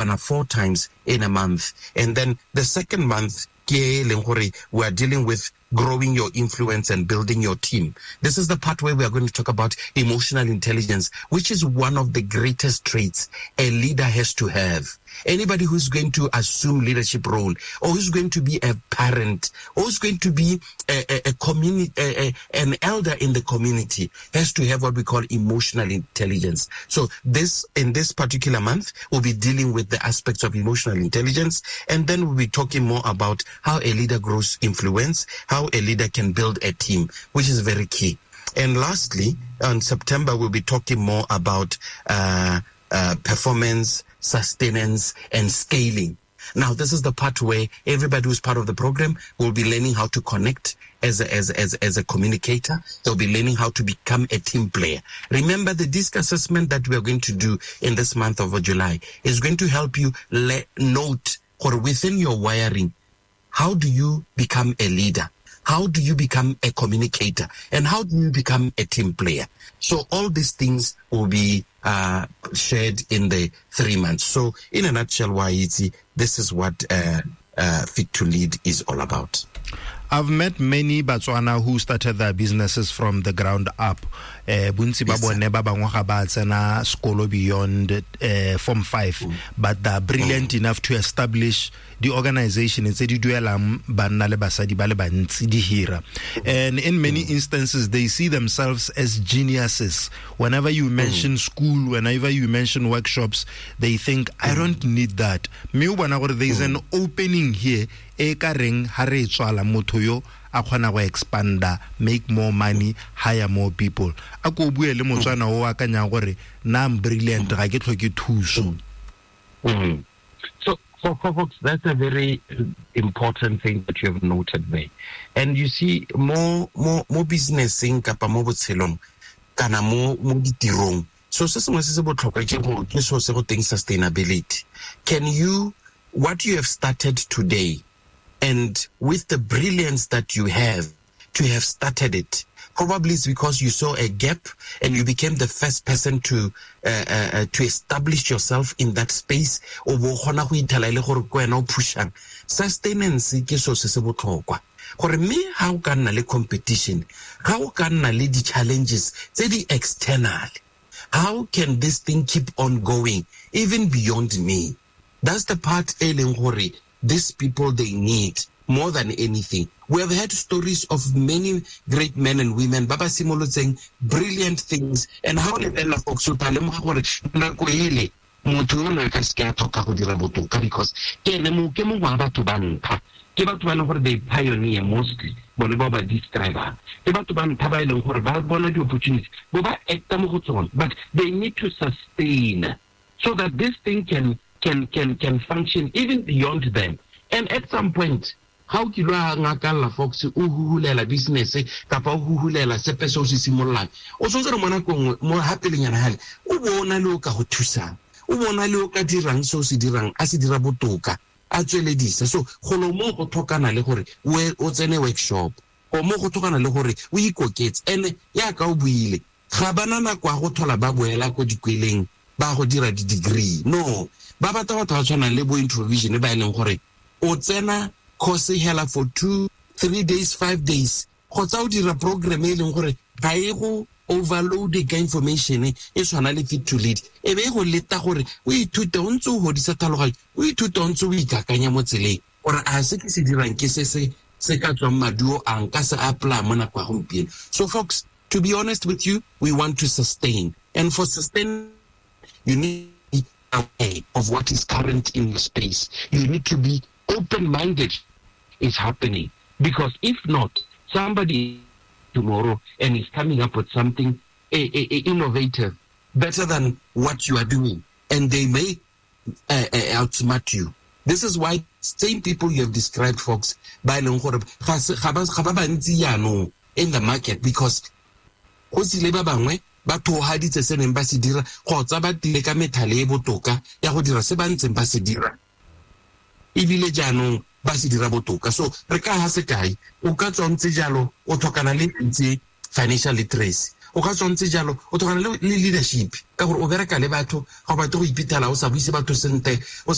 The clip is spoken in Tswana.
kopana four times in a month. And then the second month, ke e leng gore we are dealing with growing your influence and building your team. This is the part where we are going to talk about emotional intelligence, which is one of the greatest traits a leader has to have. Anybody who's going to assume leadership role, or who's going to be a parent, or who's going to be a community, an elder in the community, has to have what we call emotional intelligence. So in this particular month, we'll be dealing with the aspects of emotional intelligence, and then we'll be talking more about how a leader grows influence, how a leader can build a team, which is very key. And lastly, on September, we'll be talking more about performance, sustenance, and scaling. Now, this is the part where everybody who's part of the program will be learning how to connect as a communicator. They'll be learning how to become a team player. Remember, the DISC assessment that we are going to do in this month of July is going to help you note or within your wiring, how do you become a leader? How do you become a communicator? And how do you become a team player? So all these things will be shared in the 3 months. So in a nutshell, Waitsi, this is what Fit to Lead is all about. I've met many Batswana who started their businesses from the ground up. Bontsi ba bone ba bangwe ga ba tsena sekolo beyond Form 5, but they're brilliant enough to establish the organization tse di duelang banna le basadi ba le bantsi di hira. And in many instances, they see themselves as geniuses. Whenever you mention school, whenever you mention workshops, they think, I don't need that. Mme o bona gore there is an opening here e ka reng ha re tswala motho yo a kgona go expanda, make more money, hire more people. A ko bue le Motswana o akanyang gore na I'm brilliant, ga ke tlhoke thuso. So for folks, that's a very important thing that you have noted there. And you see, more businessing kapa mo botshelong kana mo ditirong. So se sengwe se se botlhokwa ke go, ke so se go teng sustainability. What you have started today, and with the brilliance that you have to have started it, probably it's because you saw a gap and you became the first person to establish yourself in that space. O bo kgona go ithela e le gore ke wena o pushang. Sustenance ke so se se botlhokwa. Gore mme ha o ka nna le competition, ha o ka nna le di-challenges tse di external, how can this thing keep on going even beyond me? That's the part e leng gore these people, they need more than anything. We have heard stories of many great men and women ba ba simolotseng brilliant things, and how lebelela folks o tla lemoga gore nako ele motho yo ne a ka seke a tlhoka go dira botoka, because ke ene mo, ke mongwe wa batho ba ntlha. Ke batho ba e leng gore they pioneer mostly, bone bao ba describe-ang. Ke batho ba ntlha ba e leng gore ba bona di-opportunities, bo ba acta mo go tsone, but they need to sustain so that this thing can function even beyond them. And at some point, ga o kile wa ngakalla Fox, o huhulela business kapa o huhulela sepe se o se simololang, o tshwanetse gore mo nakong nngwe, mo ha pelenyana hale, o bo o na le o ka go thusang, o bo o na le o ka dirang se o se dirang, a se dira botoka, a tsweledisa. So golo mo go tlhokana le gore o tsene workshop, go mo go tlhokana le gore o ikoketse. And yaka o buile, ga bana nako ya go thola ba boela ko dikweleng ba go dira di-degree. No, ba batla batho ba tshwanang le bo Introvision ba e leng gore o tsena course hela for 2, 3 days, 5 days, kgotsa o dira program e leng gore ga e go overload ka information e tshwana le Fit to Lead, e be e go leta gore o ithute o ntse o godisa tlhaloganyo, o ithute o ntse o ikakanya mo tseleng gore a se ke se dirang ke se se se ka tswang maduo a nka se apply mo nako ya gompieno. So folks, to be honest with you, we want to sustain, and for sustain you need to be aware of what is current in your space. You need to be open-minded is happening, because if not, somebody tomorrow and is coming up with something innovative, better than what you are doing, and they may outsmart you. This is why same people you have described, folks, ba e leng gore ga se, ga ba, ga ba bantsi jaanong in the market, because go tsile ba bangwe ba thohaditse se neng ba se dira, kgotsa ba tile ka methale e botoka ya go dira se ba ntseng ba se dira, ebile jaanong ba se dira botoka. So re ka ha sekai, o ka tswa ntse jalo o tlhokana le ntse financial literacy, O ka tswa ntse jalo, o tlhokana le leadership, ka gore o bereka le batho, ga o batle go iphitlhela o sa buise batho sentle, o